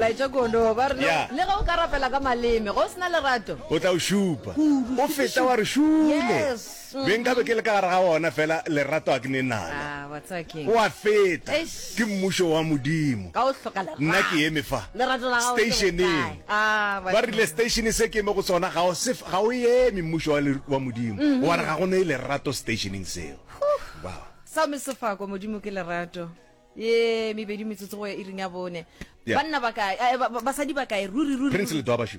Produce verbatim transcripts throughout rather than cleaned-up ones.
Molaetša kono ba re Yeah. le ge o ka rapela ka maleme go sena lerato. O tla o šupa o feta wa re šule. Yes. Be nkabe ke le ka gare ga ona fela lerato a ke ne nalo. Ah, what's up king? O a feta. Eish. Ke mmušo wa Modimo. Ka o hloka lerato. Nna ke eme fa. Lerato la gago ke Stationeng. bokae? Ah, Ba rile station se ke eme go sona ga o se ga o eme mmušo wa le- wa Modimo. Wa re ga go ne lerato stationeng seo. Wow. Sa me sefako Modimo ke lerato. Ye mebedi metsotso go ya iring ya bone. Yeah. Banna ba kae? Eh, ba- ba- Basadi ba kae? Ruri ruri. Prince ruri. Letwaba shu.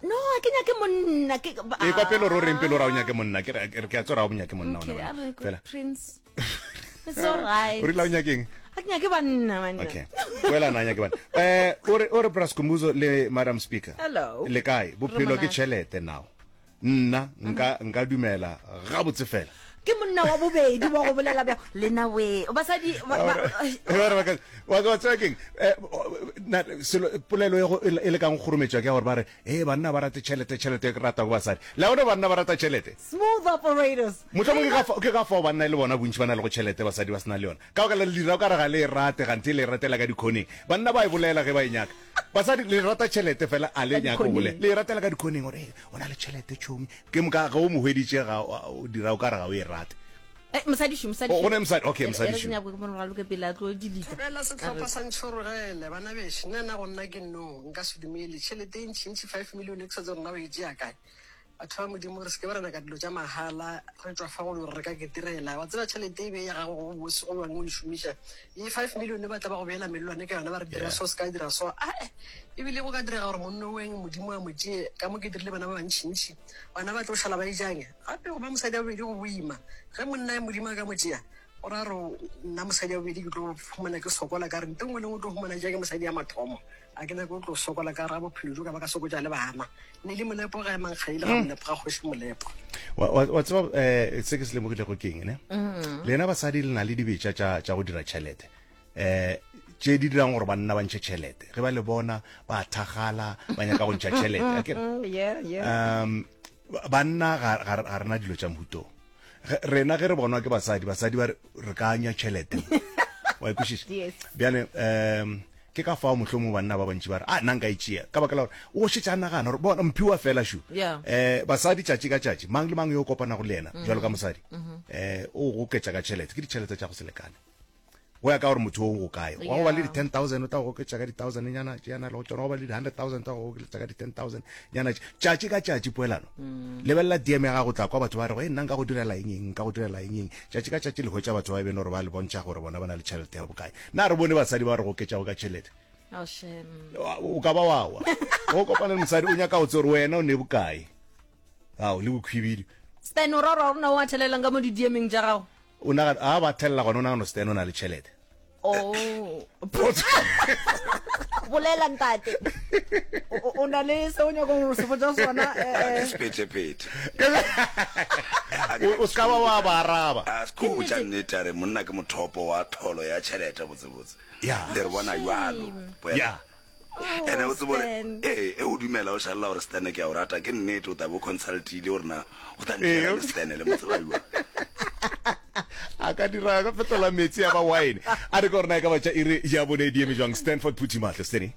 No, a ke nyake monna ke ba- E kwa pele o reng pele o ra o nyake monna ke re ke a tsora o nyake monna Okay, ona a re ko fela. Prince. It's all right. O rile o nyakeng? A ke nyake banna man. Okay. Wela na nyake bana. Eh o re o re Braskumbuzo le Madam Speaker. Hello. Le kae? Bophelo ke monate. tšhelete now. Nna nka nka dumela gabotse fela. Ke monna wa bobedi wa go bolela bja lena we. Basadi ba- ba- Ba re ba ka- wa wa tseba keng? Eh, na selo polelo e go- e le kang go kgorometšwa ke ya gore ba re e banna ba rate tšhelete tšhelete e rata go basadi. Le a bona banna ba rata tšhelete. Smooth operators. Mohlomong ke ka fa- ke ka fao banna e le bona bontši ba na le go tšhelete basadi ba se na le yona. Ka baka la le dira o ka re ga le e rate ganthe le e ratela ka dikhoneng. Banna ba e bolela ge ba e nyaka. Basadi le rata tšhelete fela a le Ka nyake go dikhoneng. bolela. Le e ratela ka dikhoneng gore "Eh, o na le tšhelete tšhomi. Ke moka ge o mo hweditše ga o dira o ka re ga o e rate. Eh, mosadi shu, mosadi O shu. go ne mosadi, okay mosadi E re shu. ke nyako ke mo raloke pele a tlo delete. Fela setlhopha sa ntšhorogele bana bešo nna nna go nna ke no nka se dumele tšhelete e ntšhintšhi five million e ke sa tse rona ba e tšea kae batho ba modimo re seke ba rena ka dilo tša mahala re tswa fa go le gore re ka ketirela wa tseba tšhelete e be ya gago go bose go bangwe o e šomiša ye five million ba tla ba go beela mellwane ka yona ba re dira Yeah. so se ka dira so ae ebile go ka direga gore monno weng modimo a mo tšee ka mo ke dirile bana ba bantšhintšhi bana ba tlo šala ba ejang gape go ba mosadi wa bobedi go boima ge monna e modimo a ka mo tšea o ra re nna mosadi wa bobedi ke tlo humana ke sokola ka re nte nngwe le nngwe o tlo humana jang ke mosadi ya mathomo a ke nyake o tlo sokola ka ra bophelo jo ka ba ka sokotša le bana ne le molepo ga emang kgaile ga molepo ga kgoši molepo Wa wa wa tseba eh se ke se lemogilego ke eng ne? Lena basadi le na le dibetša tša tša go dira tšhelete. Eh tše di dirang gore banna ba ntšhe tšhelete. Ge ba le bona ba thagala ba nyaka go ntšha tšhelete. Akere? Mm, yeah, yeah. Um banna ga ga ga rena dilo tša mohuto. Ge- Rena ge re bonwa ke basadi, basadi ba re re ka anya tšhelete. Wa e kwešiša? Yes. Bjale um ke ka fao mohlomong banna ba bantši ba re a nna nka e tšea ka baka la gore o šetše a nagana gore bona mphiwa fela shu Yeah. eh basadi tšatši ka tšatši mang le mang yo o kopanago le yena jwalo ka mosadi eh o go oketša ka tšhelete ke ditšhelete tša go se lekane go ya ka gore motho o go kae wa go ba le Yeah. di ten thousand o tla go oketša ka di thousand nyana tše yana le go tšona go ba le di hundred thousand tla go oketša ka di ten thousand nyana tše tšatši ka tšatši poelano lebelela D M ya gago tla kwa batho ba re go nna nka go direla eng eng nka go direla eng eng tšatši ka tšatši le hwetša batho ba e bene gore ba le bontšha gore bona ba na le tšhelete ya bokae na re bone basadi ba re go oketšago ka tšhelete Oh, shame. o ka ba wa wa o kopana le mosadi o nyaka go tse gore wena o ne bokae ao le bokhwibidi Stan o ra gore ga gona o a thelelang ka mo di-D M-eng tša gago. O nagana a ba thelela gona o nagana Stan o na le tšhelete. Oh. Bolela ntate. O o na le se o nyakang go se botša sona eh Ke sephetephete. O o ska ba wa ba araba. A se ko botša nnete a re monna ke mothopo wa tholo ya tšhelete botsebotse. Yeah. Le re bona jwalo. Yeah. Ene o tsebe gore Stan. ee e o dumela o šalela gore Stan ke a o rata ke nnete o tla bo consultile gore na o tla Ee. ntšhela le Stan le mo tseba jwang. A ka dira ka fetola metsi ya ba wine. A re ke gore na e ka ba tša iri ya bone di eme jwang Stanford Phuthi Mahlo Steny.